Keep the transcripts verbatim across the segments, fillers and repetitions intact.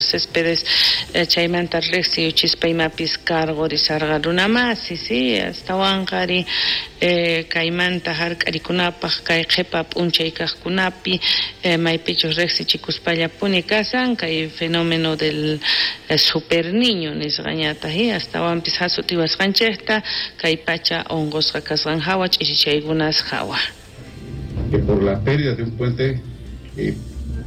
Céspedes chaymanta riqsiyuchispa imapis cargorisarqa runamasi sí astawanqa ari kaymanta hark'arikunapaq kay qhipa p'unchay kaqkunapi maypichus riqsichikuspallapuni kasan kay fenómeno del super niño nisqañataq astawanpis hasutiwasqanchikta kay pacha unqusqa kasqan hawa ch'ichichaykunas hawa. Que por la pérdida de un puente eh,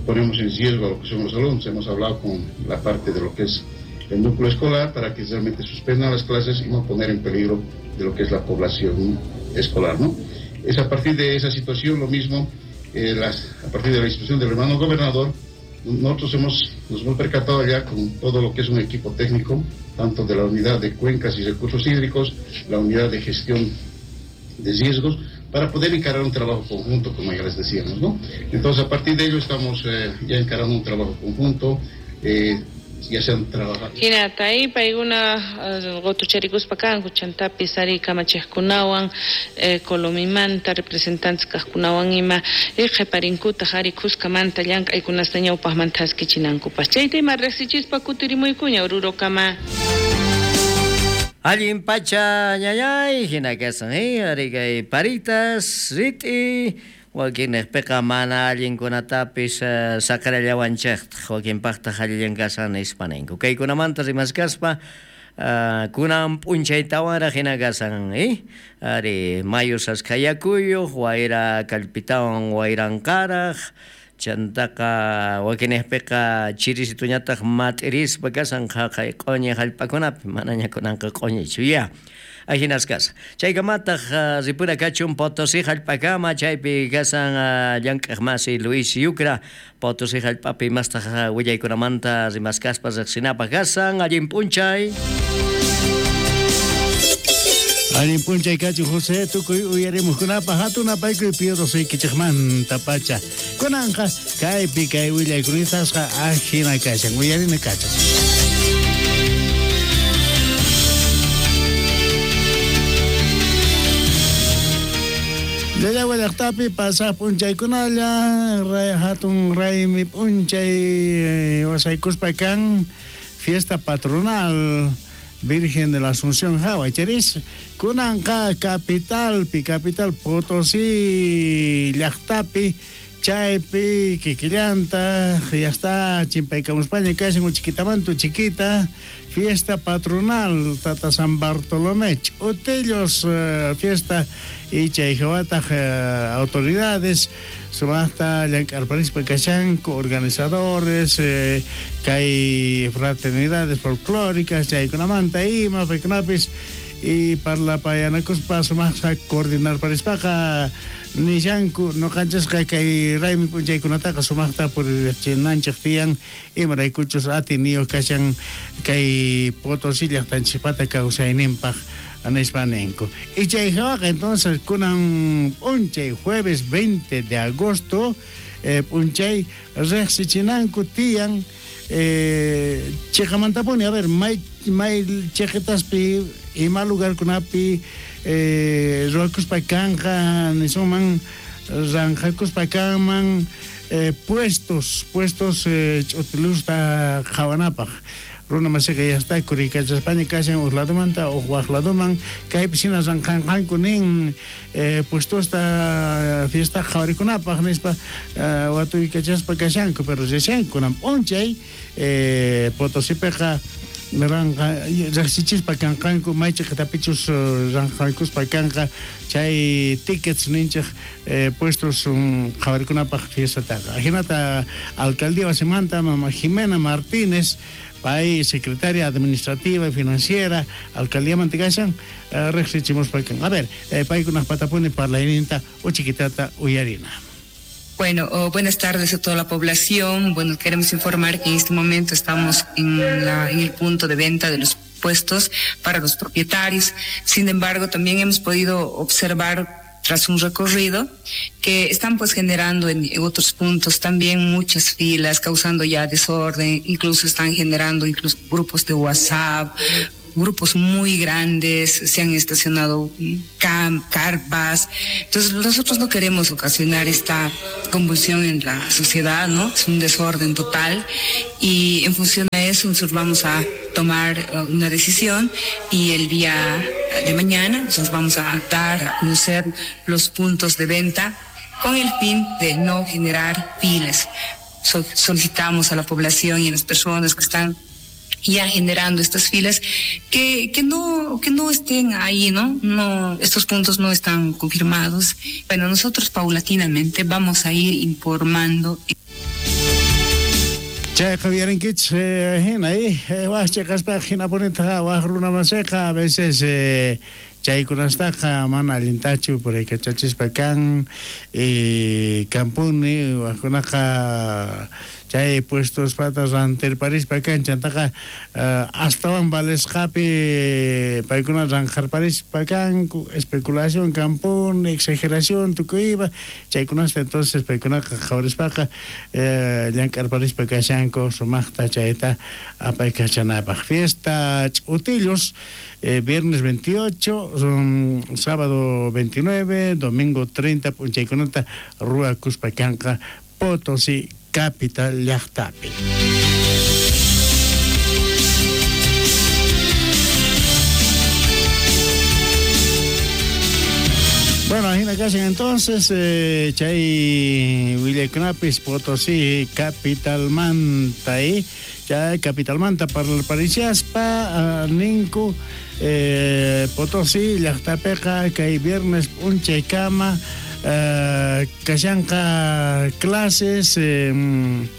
ponemos en riesgo a lo que son los alumnos. Hemos hablado con la parte de lo que es el núcleo escolar para que realmente suspendan las clases y no poner en peligro de lo que es la población escolar, ¿no? Es a partir de esa situación lo mismo, eh, las, a partir de la instrucción del hermano gobernador, nosotros hemos, nos hemos percatado ya con todo lo que es un equipo técnico, tanto de la unidad de cuencas y recursos hídricos, la unidad de gestión de riesgos, para poder encarar un trabajo conjunto, como ya les decíamos, ¿no? Entonces, a partir de ello estamos eh, ya encarando un trabajo conjunto, eh, ya se han trabajado. Hinata ahí paykuna qutucharikuspa kanku chantapis ari kamachiqkunawan Colomimanta representantes kaqkunawan ima qhiparinkutaq ari khuskamanta llank'aykunasta ñawpaqmanta haskichinankupaq. Chayta ima riqsichispa kutirimuykuña Orurokama. Allin pacha ñañay hina kasan eh ari kay paritas rit'i wakinniqpiqa mana allinkunatapis uh, saqrallawanchikta wakinpaqtaq allillan kasan nispa ninku. Kaykunamanta rimaskaspa uh, kunan p'unchaytawanraq hina kasan eh ari mayu saskayakuyuq wayra kallpitawan wayranqaraq chantaqa wakinniqpiqa chirisituñataq mat'irispa kasan qhaqay q'uñi hallp'akunapi manaña kunanqa q'uñichu ya. Ahinas kasa. Chaykamataq uh, ripura kachun Potosí hallp'akama chaypi kasan uh, llank'aq masi Luis Yucra Potosí hallp'api mastaq uh, willaykunamanta rimaskaspa riqsinapaq kasan allin p'unchay. Allin p'unchay kachu José tukuy uyarimuqkunapaq hatun apaykuy Piero suykichikmanta pacha. Kunanqa kaypi kay willaykunisasqa ajina kashan uyarina kachun. Llaqta llaqtapi pasaq p'unchaykunalla ray hatun raymi p'unchay wasaykuspa kan fiesta patronal Virgen de la Asunción hawa charis kunanqa capitalpi capital Potosí llaqtapi chaypi kikillanta ya está chimpaykamuspaña kashan uchikitamanta chiquita fiesta patronal Tata San Bartolomé Utellos uh, fiesta y chay hawataq uh, autoridades sumaqta llank'arparispa kashanku organizadores eh, kay fraternidades folclóricas chaykunamanta ima paykunapis y parlapayanakuspa sumaqta coordinarparispaqa nishanku nuqanchasqa kay raymi p'unchaykunataqa sumaqta puririchinanchik tiyan imaraykuchus atiniyuq kashan kay Potosí llaqtanchikpata kawsayninpaq nispa ninku. Y chay hawaqa entonces kunan p'unchay jueves veinte de agosto eh, p'unchay riqsichinanku tiyan eh, chiqamantapuni a ver may may chiqitaspi ima lugarkunapi eh, ruwakuspa kanqa nisunman ranqakuspa kanman eh, puestos puestos eh, ch'utilusta qhawanapaq runa masiqa ya está kurikachaspaña kashan uq ladumanta uq waq laduman kaypi hina ranqanqanku nin eh, puestosta fiesta qhawarikunapaq nispa eh, watuykachaspa kashanku pero rishanku kunan p'unchay eh, Potosipiqa ranqa riqsichispa kanqanku may chiqitapichus ranqankuspa kanqa chay tickets ninchik eh, puestos um, qhawarikunapaq fiestataqa ajinata alcaldía wasimanta mama Jimena Martínez pay secretaria administrativa y financiera alcaldía mantikashan eh, riqsichimuspa kan a ver eh, paykunaq patapuni parlayninta uchiquitata uyarina. Bueno, oh, buenas tardes a toda la población. Bueno, queremos informar que en este momento estamos en, la, en el punto de venta de los puestos para los propietarios. Sin embargo, también hemos podido observar tras un recorrido que están pues generando en otros puntos también muchas filas, causando ya desorden, incluso están generando incluso grupos de WhatsApp grupos muy grandes, se han estacionado cam, carpas. Entonces nosotros no queremos ocasionar esta convulsión en la sociedad, ¿no? Es un desorden total y en función a eso nosotros vamos a tomar una decisión y el día de mañana nosotros vamos a dar a conocer los puntos de venta con el fin de no generar filas. So- solicitamos a la población y a las personas que están ya generando estas filas que, que no, que no estén ahí, ¿no? No, estos puntos no están confirmados. Bueno, nosotros paulatinamente vamos a ir informando. Chayqa uyarinkichis hina waj chhiqaspaqa hinapunitaqa waj runamasiqa a veces chaykunastaqa mana allintachu puraykachachispa kan kampuni wajkunaqa chay puestospata rantirparispa kan chantaqa astawan valesqapi paykuna ranjarparispa kanku especulación kampuni exageración tukuypa chaykunasta entonces paykunaqa qhawarispaqa llank'arparispa kashanku sumaqta chayta apaykachanapaq. Fiesta Ch'utillos eh, viernes veintiocho, um, sábado veintinueve, domingo treinta p'unchaykunata ruwakuspa kanqa Potosí capital llaqtapi. Bueno, ajina kashan entonces eh, chay willaykunapis Potosí capitalmanta eh, chay capitalmanta parlarparishaspa uh, ninku eh, Potosí llaqtapiqa kay viernes p'unchaykama Uh, kashanqa clases eh,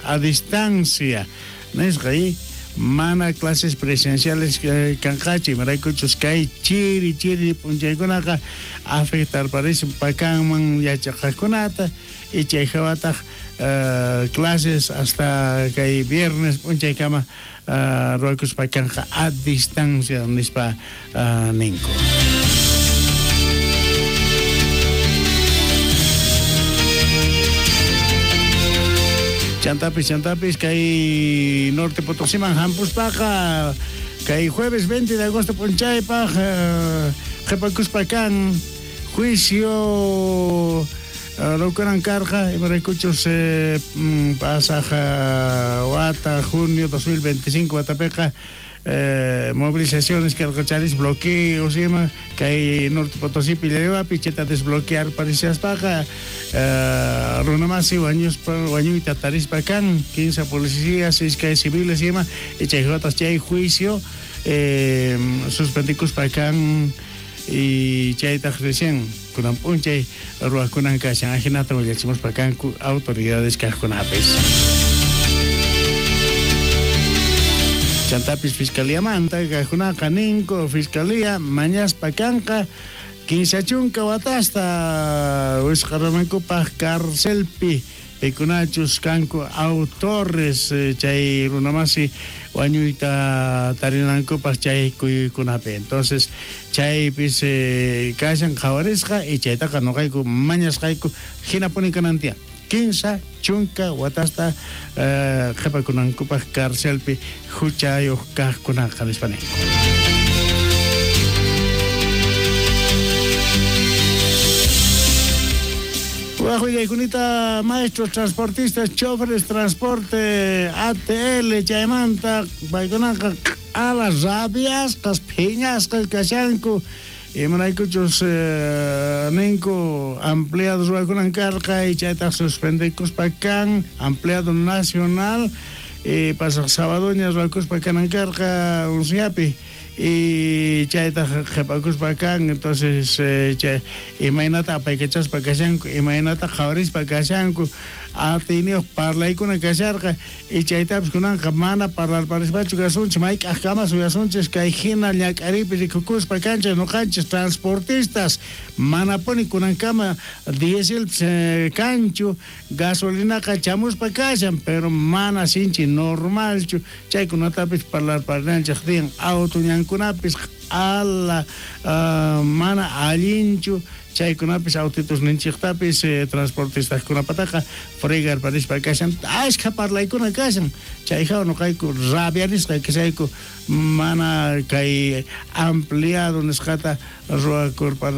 a distancia nisqa y mana clases presenciales eh, kanqachu imaraykuchus kay chiri chiri p'unchaykunaqa afectarparishan pakanman yachaqaqkunata y chay hawataq uh, clases hasta kay viernes p'unchaykama uh, ruwakuspa kanqa a distancia nispa uh, ninku. Chantapis, chantapis, kay Norte Potosíman hampuspaqa kay jueves veinte de agosto p'unchaypaq qhipakuspa kan juicio rukunan karqa imaraykuchus pasaq wata junio dos mil veinticinco watapiqa Eh, movilizaciones karqacharis bloqueos ima kay Norte Potosí Pillariwapi chayta desbloquear parishaspaqa eh, runamasi wañuspa wañuyta tarispa kan quince policías iskay civiles ima y chay watas chay juicio eh, suspendikuspa kan y chaytaq recién kunan p'unchay ruwakunan kashan ajinata willachimuspa kanku autoridades kaqkunapis. Chantapis fiscalía manta kaqkunaqa ninku fiscalía mañaspa kanqa kinsa chunka watasta wisq'aranankupaq carcelpi pikunachus kanku autores chay runamasi wañuyta tarinankupaq chay kuyuykunapi. Entonces chaypis eh, kashan qhawarisqa y chaytaqa nuqayku mañasqayku hinapuni kanan tiyan kinsa chunka watasta qhipakunankupaq carcelpi huchayuq kaqkunaqa nispa ninku. Waj willaykunita maestros transportistas, choferes transporte A T L chaymanta paykunaqa q'ala rabiasqas phiñasqas kashanku imaraykuchus eh, ninku ampliados ruwakunan karqa y chaytaq suspendikuspa kan ampliado nacional y pasaq sabadoña ruwakuspa kanan karqa unsiapi y chaytaq qhipakuspa kan entonces eh, chay imaynata apaykachaspa kashanku imaynata qhawarispa kashanku atiyniyuq parlaykuna kasharqa y chaytapis kunanqa mana parlarparispachu kasunchis mayk'aqkama suyasunchis kay hina ñak'ariypi rikukuspa kanchis nuqanchis transportistas manapuni kunankama dieselpis eh, kanchu gasolinaqa chamuspa kashan pero mana sinchi normalchu chaykunatapis parlarparinanchik tiyan auto ñankunapis q'ala uh, mana allinchu chaykunapis autitos ninchiqtapis eh, transportistajkunapataqa fregarparispa kashan ashkha parlaykuna kashan chayqa nuqayku rabiarisqa kashayku mana kay ampliado nisqata ruwakurpa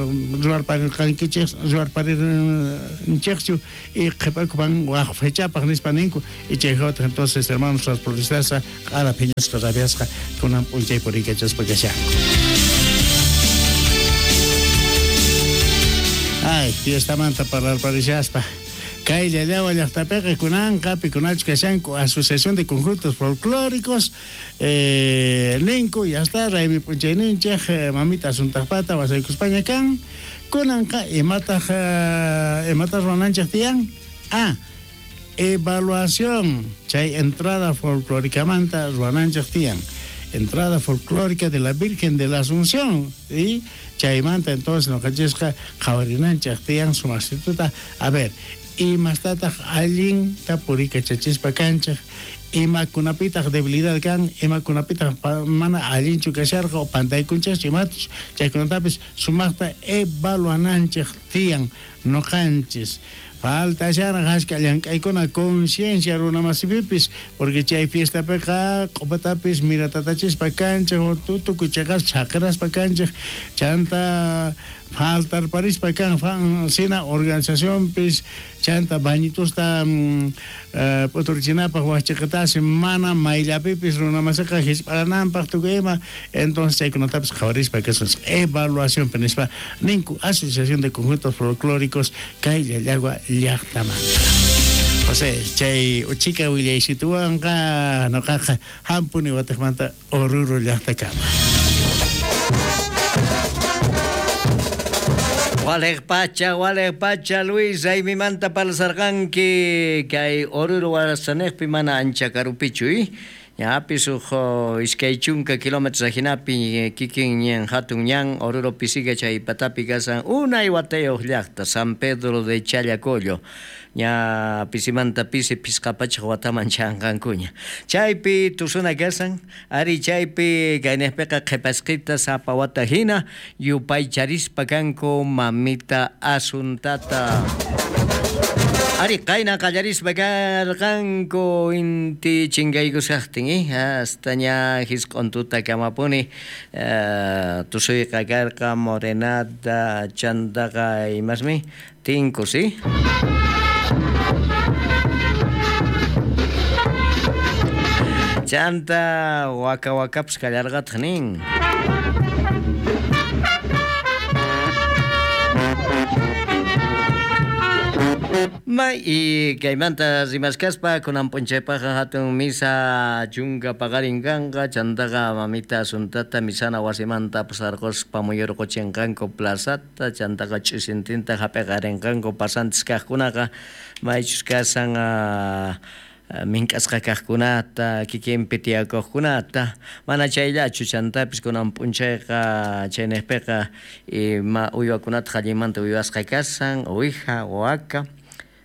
ruwarparirqankichik ruwarparirninchikchu y qhipakupan waq fechapaq nispa ninku y chayqataq entonces hermanos transportistas q'ala phiñasqa rabiasqa kunan p'unchay puriykachaspa kashanku. Ay, fiestamanta parlarparishaspa. Kay llallawa llaqtapiqa kunanqa pikunachu kashanku Asociación de Conjuntos Folclóricos eh, ninku ya está raymi p'unchayninchik eh, mamita asuntaqpata wasaykuspaña kan kunanqa imataq eh, imataq ruwananchik tiyan ah evaluación chay entrada folclóricamanta ruwananchik tiyan entrada folclórica de la Virgen de la Asunción y chaymanta entonces noqanchisqa qhawarinanchik tiyan sumastituta a ver imastataq allinta purikachachispa kanchik imakunapitaq debilidad kan imakunapitaq mana allinchu kasharqa o pantaykunchikchu imatuch chaykunatapis sumaqta evaluananchik tiyan noqanchis falta sharaq ashka llank'aykuna conciencia runamasipipis porque chay fiestapiqa q'upatapis miratatachispa kanchik tukuy chaqas chaqiraspa kanchik chanta faltarparispa kan sina organizacionpis chanta bañitusta mm, p'uturichinapaq waqchiqatasi mana mayllapipis runamasiqa hisp'arananpaq tukuy ima entonces chaykunatapis qhawarispa kasun evaluacionpi nispa ninku Asociación de Conjuntos Folclóricos kay llallagua llaqtamanta. José, chay uchika willaysituwanqa noqaqa hampuni watiqmanta Oruro llaqtakama. Waleq pacha, waleq pacha, Luis, raymimanta parlasarqanki kay Oruro warasanejpi mana ancha karupichu, eh? Ñapis uj iskay chunka kilómetros ajinapi kikin ñan hatun ñan Oruro pisiga chay patapi kasan unay watayuq llaqta San Pedro de Challacollo ña pisimanta pisi pisqa pachaq wataman chanqankuña chaypi tusuna kasan ari chaypi kaynejpiqa qhipasqita sapa wata hina yupaycharispa kanku mamita Asuntata. Ari qayna qallarispa karqanku inti chinkaykusaqtin eh hasta ña hisq'untuta kamapuni eh, tusuyqa karqa morenada chantaqa imasmi tinku si chanta waka wakapas kallarqataq nin. May y kaymanta rimaskaspa kunan p'unchaypaqqa hatun misa chunka paqarin kanqa chantaqa mamita Asuntata misana wasimanta pasarquspa muyurquchinqanku plazata chantaqa ch'isintinta hap'iqarinqanku pasantes kaqkunaqa maychus kasan uh, mink'asqa kaqkunata kikinpi tiyakuqkunata mana chayllachu chantapis kunan p'unchayqa chaynejpiqa ima uywakunata qallinmanta uywasqa kasan uwija waka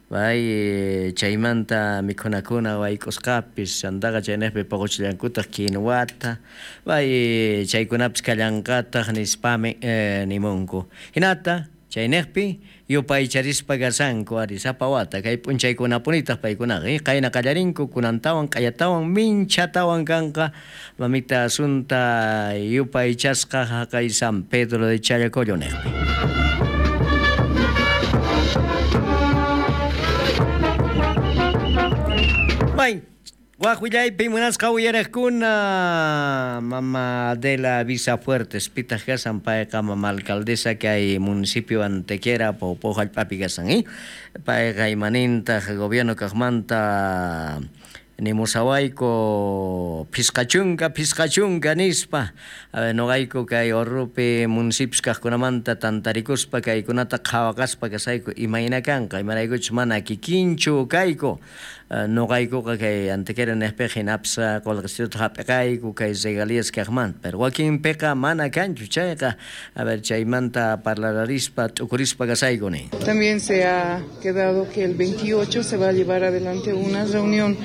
bay chaymanta mikhunakuna wayk'usqapis chantaqa chaynejpi puquchillankutaq kinuwata bay chaykunapis kallanqataq nispami eh, nimunku hinata chaynejpi yupaycharispa kasanku ari sapa wata kay p'unchaykunapunitaq paykunaqa eh, qayna qallarinku kunantawan q'ayatawan minchatawan kanqa mamita Asunta yupaychasqa haqay San Pedro de Challacollo nejpi. Bay, waq willaypi munasqa uyaraqkuna mama Adela Visafuertes pitaq kasan payqa mama alcaldesa kay municipio Antequera Poopó hallp'api kasan eh? Payqa imanintaq gobierno kaqmanta nimusawayku phisqachunka phisqachunka nispa noqayku kay Orrupi municipios kaqkunamanta tantarikuspa kaykunata qhawaqaspa kasayku imayna kanqa imaraykuchus mana kikinchu kayku noqaykuqa kay Antequera nejpiqa hinapis qullqisituta hap'iqayku kay regalías kaqmanta pero wakinpiqa mana kanchu chayqa a ver chaymanta parlararispa t'ukurispa kasayku nin. También se ha quedado que el veintiocho se va a llevar adelante una reunión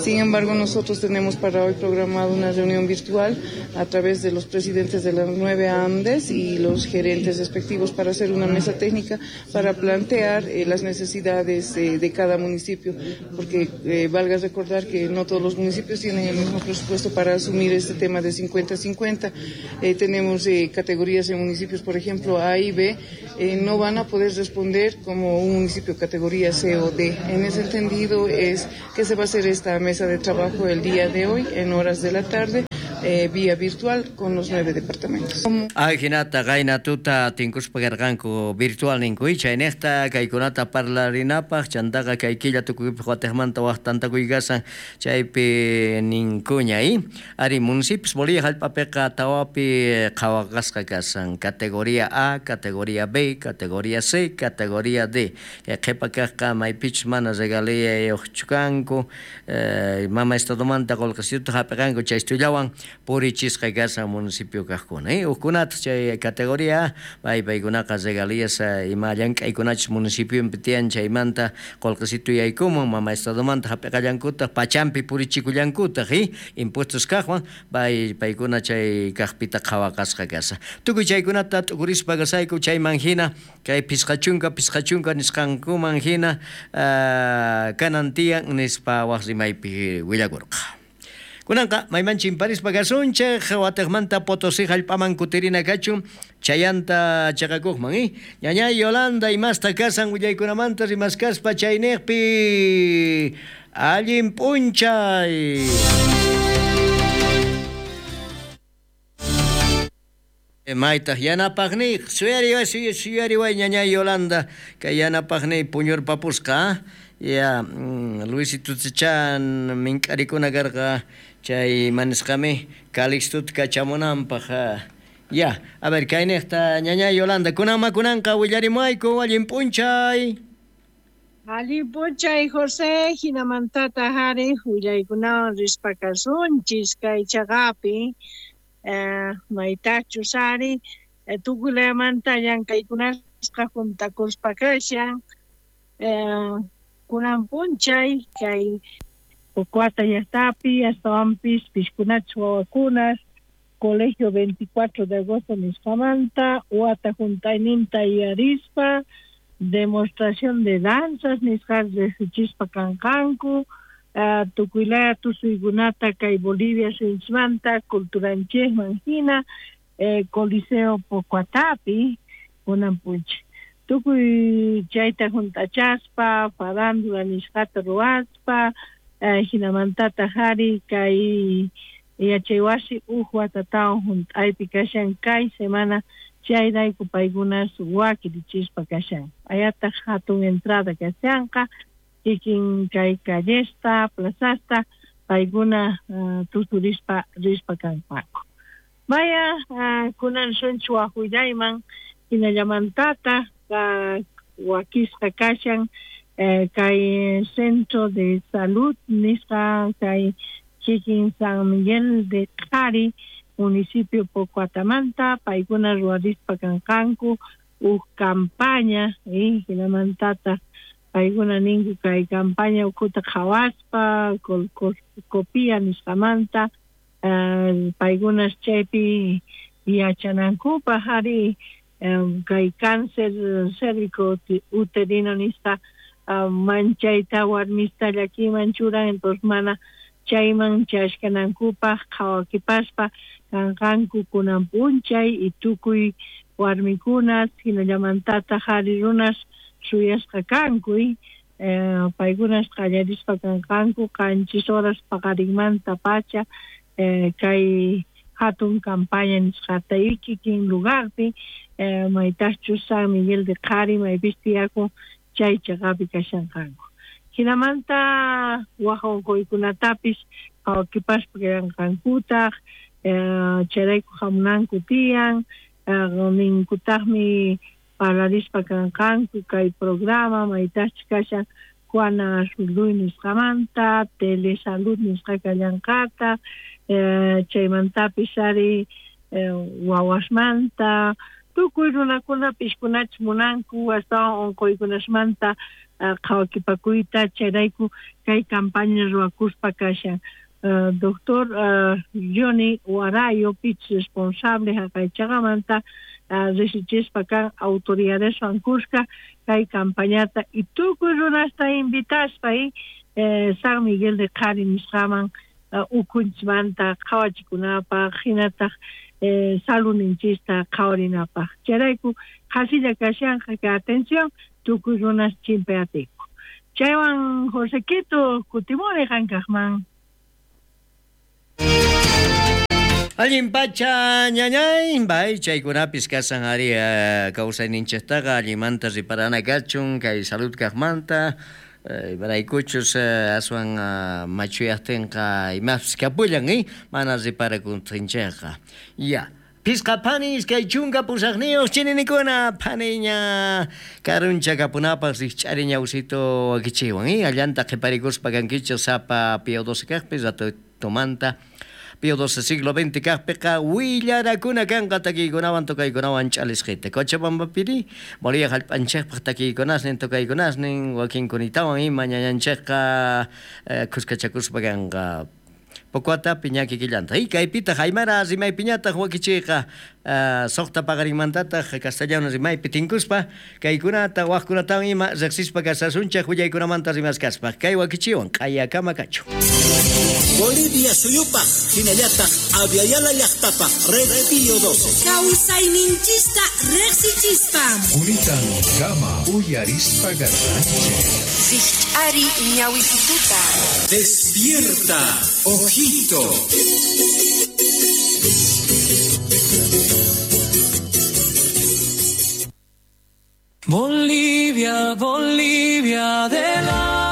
Sin embargo, nosotros tenemos para hoy programado una reunión virtual a través de los presidentes de las nueve AMDES y los gerentes respectivos para hacer una mesa técnica para plantear eh, las necesidades eh, de cada municipio, porque eh, valga recordar que no todos los municipios tienen el mismo presupuesto para asumir este tema de cincuenta cincuenta. Eh, tenemos eh, categorías de municipios, por ejemplo, A y B, eh, no van a poder responder como un municipio categoría C o D. En ese entendido es que se va a hacer esta mesa de trabajo el día de hoy en horas de la tarde, eh, vía virtual con los nueve departamentos. Ajinata qayna tuta tinkuspa karqanku virtual ninku chaynejta kaykunata parlarinapaj chantaqa kay killa tukuypaj watejmanta waj tantakuykasan chaypi ninkuña i ari municipios Bolivia jallp'apiqa tawapi qhawaqasqa kasan categoría A, categoría B, categoría C, categoría D. Kay qhipa kajqa maypichus mana regaliyayuqchu kanku eh, mama estadomanta qullqisituta hap'iqanku chaystullawan purichisqa kasan municipio kajkuna eh ukkunata chay categoría A pay paykunaqa regalías ima llank'aykunachus municipiopi tiyan chaymanta qullqisitu yaykumun mama estadomanta hap'iqallankutaq pachampi purichikullankutaq eh impuestos kajwan pay paykuna chay kajpita qhawaqasqa kasa tukuy chaykunata t'ukurispa kasayku chayman hina kay pisqachunka pisqachunka nisqankuman hina uh, kanan tiyan nispa waj rimaypi willakurqa. Kunanqa mayman chimparispa kasunchej watejmanta Potosí jallp'aman kutirina kachun chayanta chaqakuqman eh ñañay Yolanda imasta kasan willaykunamanta rimaskaspa chaynejpi allin p'unchay. Maytaq yanapaqniy suyariway suyariway ñañay Yolanda kay yanapaqniy puñurpapusqa ya Luisito Chan mink'arikuna karqa chay manisqami Calixtuta kachamunanpaq ya a ver kaynejta ñañay Yolanda kunanma kunanqa willarimuayku allin p'unchay. Allin p'unchay José, hinamantata hari willaykunawan rispa kasunchis kay chaqapi eh, maytachus ari eh, tukuy llank'aykunasqa juntakuspa kashan eh, kunan p'unchay kay Pocoata llaqtapi astawanpis piskunachus wawakunas Colegio veinticuatro de agosto nisqamanta wata juntayninta yuyarispa demostración de danzas nisqa riqsichispa kanqanku uh, tukuylaya tusuykunata kay Bolivia suyunchikmanta culturanchikman hina eh, Coliseo Pocoatapi kunan p'unchay tukuy chayta junt'achaspa farándula nisqata ruwaspa eh, hinamantata hari kay yachaywasi uj watatawan junt'aypi kashan kay semana chayrayku paykunas wakirichispa kashan ayataq hatun entrada kashanqa kikin kay callesta plazasta paykuna uh, tusurispa rispa kanqaku. Vaya uh, kunan sunchik waj willayman hinallamantata uh, wakisqa kashan eh, kay Centro de Salud nisqa kay kikin San Miguel de Qhari municipio Pocoatamanta paykuna ruwarispa kanqanku uj campaña eh, hinamantata paykuna ninku kay campaña ukhuta qhawaspa colposcopía nisqamanta uh, paykunas chaypi yachanankupaj ari um, kay cáncer cérvico uterino nisqa uh, manchayta warmista llakiman churan entonces mana chayman chashkanankupaj qhawakipaspa kanqanku kunan p'unchay y tukuy warmikunas hinallamantata qhari runas suyasqa kanku eh, paykunas qallarispa kanqanku qanchis horas paqarinmanta pacha eh, kay hatun campaña nisqata y kikin lugarpi eh, maytachus San Miguel de Qhari maypis tiyakun chay chaqapi kashanqanku. Hinamanta waj unquykunatapis qhawakipaspa kallanqankutaq eh, chayrayku hamunanku tiyan eh, ninkutaqmi parlarispa kanqanku kay programa maytachus kashan Juana Azurduy nisqamanta Telesalud nisqa kallanqata eh, chaymantapis ari eh, wawasmanta tukuy runakuna piskunachus munanku astawan unquykunasmanta qhawakipakuyta chayrayku kay campaña ruwakuspa kashan. Uh, doctor uh, Johnny Warayo, pich responsable haqay chaqamanta uh, risichispa kan autoridadeswan kuska kay campañata y tukuy runasta invitaspa y eh, San Miguel de Qhari nisqaman uh, ukunchmanta qhawachikunapaq hinataq eh, saluninchista qhawarinapaq. Chayrayku qhasilla kashanqa ka atención tukuy runas chimpayatiku. Chaywan Josequito kutimuni qankaqman. Allin pacha ñañay, bay chaykunapis kasan ari uh, kawsayninchiktaqa allimanta riparana kachun kay salud kaqmanta imaraykuchus uh, aswan uh, machuyaqtinqa imapis kapullan eh? Mana riparakuntinchikqa. Ya. Pisqa phani iskay chunka pusaqniyuq chininikuna phaniña karuncha kapunapaq rikch'ari ñawsito wakichiwan eh? Allanta qhiparikuspa kankichik sapa Pío doce kaqpi ratutumanta Pío doce siglo veinte kaqpiqa willarakuna kanqa takiykunawan tokaykunawan ch'alisqita. Cochabambapiri Bolivia hallp'anchikpaq takiykunasnin tokaykunasnin wakinkunitawan ima ñañanchikqa eh, kuskachakuspa kanqa. Pokuatapi ñaki killanta. Y kaypitaq aymara rimaypiñataq wakichiyqa uh, suqta paqarinmantataq castellano rimaypi tinkuspa kaykunata waqkunatawan ima riqsispa kasasunchik willaykunamanta rimaskaspa. Kay wakichiwan q'ayakama kachu. Bolivia suyupaq hinallataq Aviala llaqtapaq Red Pío doce. Kawsayninchista riqsichispa. Unitan kama uyarispa garranchik. Rikch'ari ñawisituta. Despierta, ojito. Bolivia, Bolivia, adelante.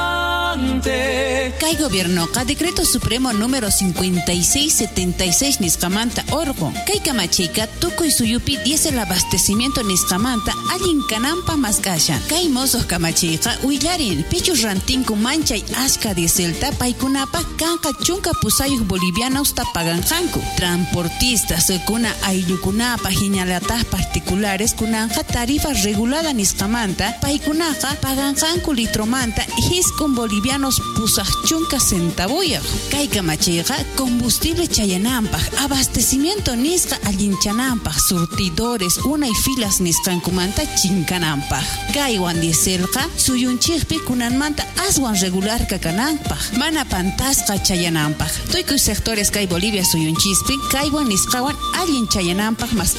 Kay gobiernoqa Decreto Supremo número cincuenta y seis setenta y seis nisqamanta orqun. Kay kamachiyqa tukuy suyupi diésel abastecimiento nisqamanta allin kananpaq mask'ashan. Kay mosuq kamachiyqa willarin pichus rantinku manchay ashka dieselta paykunapaq kanqa chunka pusayuq bolivianosta paganqanku. Transportistas kuna ayllukunapaq hinalataq particulares kunanqa tarifa regulada nisqamanta paykunaqa paganqanku litromanta hisq'un bolivianos pusaq chunka centavuyaq. Kay kamachiyqa combustible chayananpaq, abastecimiento nisqa allinchananpaq, surtidores unay filas nisqankumanta chinkananpaq. Kaywan dieselqa suyunchikpi kunanmanta aswan regularqa kananpaq, mana pantasqa chayananpaq. Tukuy sectores kay Bolivia suyunchispi kaywan nisqawan allin chayananpaq mask'a